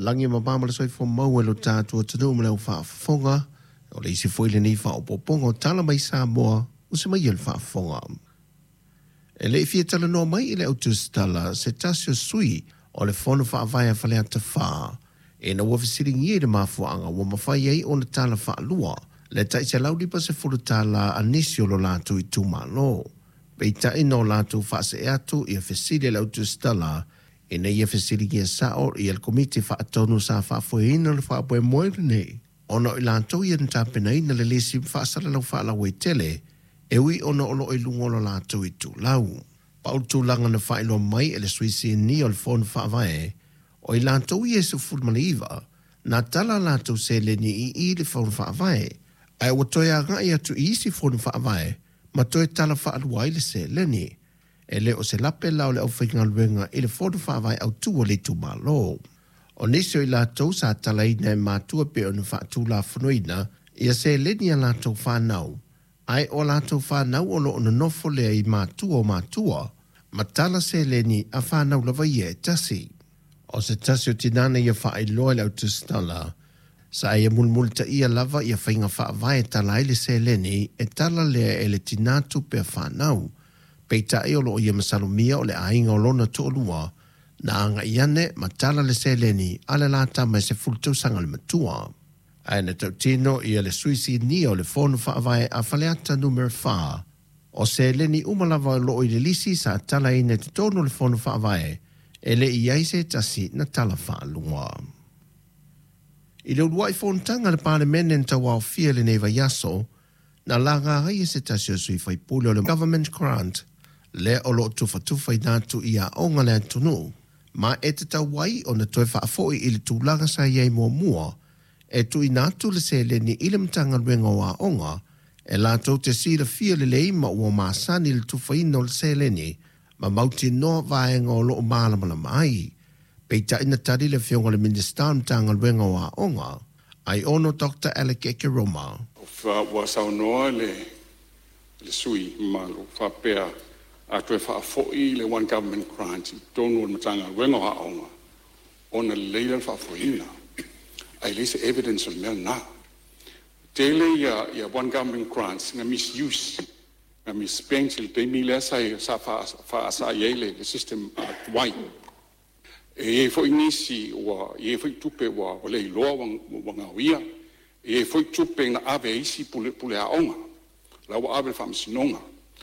Lagi e mama ma le soifua maua i lo tatou atunuu ma le aufaafofoga. O le isi foi lenei faaopoopoga o Tala mai Samoa ua se mai e le faafofoga. E le i fia talanoa mai i le autusitala se tasi o sui o le Fono Faavae a Faleata 4 ina ua fesiligia i le mafuaaga ua mafai ai ona tala faalua le tai $150 a nisi o lo latou itumalo. Peitai na o latou faasee atu ia fesili a le autusitala ina ia fesiligia sao ia le Komiti Faatonu sa faafoeina le faamoemoe lenei ona o i latou ia na tapenaina le lisi faasalalau faalauaitele e ui ona o lo o i luga o lo latou itulau. Pau le tulaga na faailoa mai e le sui sinia o le Fono Faavae, o i latou ia e 19 na tala a latou seleni i i le Fono Faavae, ae ua toe agai atu i isi Fono Faavae ma toe tala faalua ai le seleni. E le o se lape la o le aufaigaluega i le Fono Faavae autu a le itumalo. O nisi o i latou sa talaina e matua pei ona faatulafonoina ia seleni a latou fanau, ae o a latou fanau o lo o nonofo lea i matua o matua, ma tala seleni a fanau lava ia e tasi. O se tasi o tinā na ia faailoa i le autusitala, sa ia mulimulitaia lava ia faiga faavae e tala ai le seleni e tala lea e le tinā tupe a fanau, peitai o lo o ia masalomia o le aiga o lona toalua na agai ane ma tala le seleni a le la tama e 10 tausaga le matua. Ae na tautino ia le sui sinia o le Fono Faavae a Faleata Nu.4, o seleni uma lava o lo o i le lisi sa talaina i totonu o le Fono Faavae, e le i i ai se tasi na tala faalua. I le uluai fonotaga a le Palemene na tauaofia i lenei vaiaso, na laga ai e se tasi o sui faipule o le Government Grant lea o lo o tufatufaina atu i aoga a le atunuu, ma e tatau ai ona toe faafoi i le tulaga sa i ai muamua, e tuuina atu le seleni i le Matagaluega o Aoga e latou te silafia lelei ma ua masani i le tufaina o le seleni ma mautinoa vaega o lo o malamalama ai. Peitai na tali le Afioga i le Minisita o le Matagaluega o Aoga, Aiono Doctor Alec Ekeroma. Ua saunoa le sui usufono mamalu faapea a toe faafoi le One Government Grant i totonu o le Matagaluega o Aoga ona lelei lea o le faafoeina, ae leai se evidence o le mea lena. E tele One Government Grants na misuse, na misspent i le taimi lea sa faasa ai le system tuai. E i ai foi nisi ua i ai foi tupe ua le iloa ua gaoia, e i ai foi tupe na ave e isi pule aoga, la ua ave i le faamasinoga.